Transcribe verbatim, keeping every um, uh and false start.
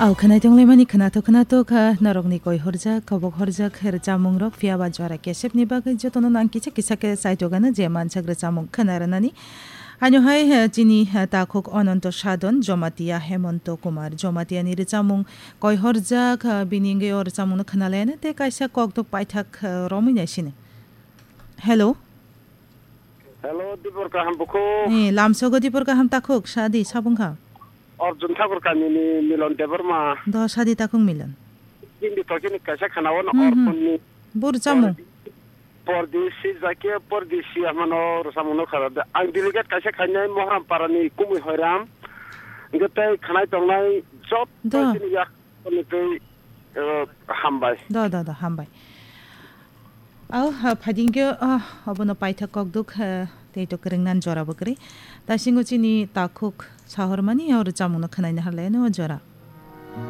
Au khwnai tonglaimani khwnathok khwnathok kha norokni koi horjak, kobok horjak khe rwchapmungrok, phiya ba jora kesepni bagwi jotono nang kisa kisa khe chaitokgano je mansak rwchapmung khwna rwnani. Haino hai, eh, chini, eh, takhuk Ononto Sadon, Jomatia Hemonto Kumar, Jomatiani rwchapmung koi horjak, eh, bini wngwi o rwchapmungno khwna laiyano tei kaisa kokdok paithak, eh, romwi naisini. Hello. Hello, Dipor kaham bukhuk. Eh, lamsogo Dipor kaham takhuk, sadi sabung kha. Arjun Thakur kamini Milon Debbarma. Do sadi takhuk Milon. Hindi tokini kaisa khana wano Hmm, hmm. Orphanni. Bur chamung. Pordesi jake pordesi amano rwchapmungno khara de. Ang delegate kaisa khainai Mohram Parani Kumui Hoiram. Hingke tei khanai tongnai joto Do. Chini yak Ani tei, eh, hambai. Do, do, do, hambai. Au, ha, phaidingkhe, ah, obono paithak kokduk, eh, tei to kwrwngnan jora bo kwrwi. Taisingo chini takhuk sahormani o rwchapmungno khwnaina harlaino o jora.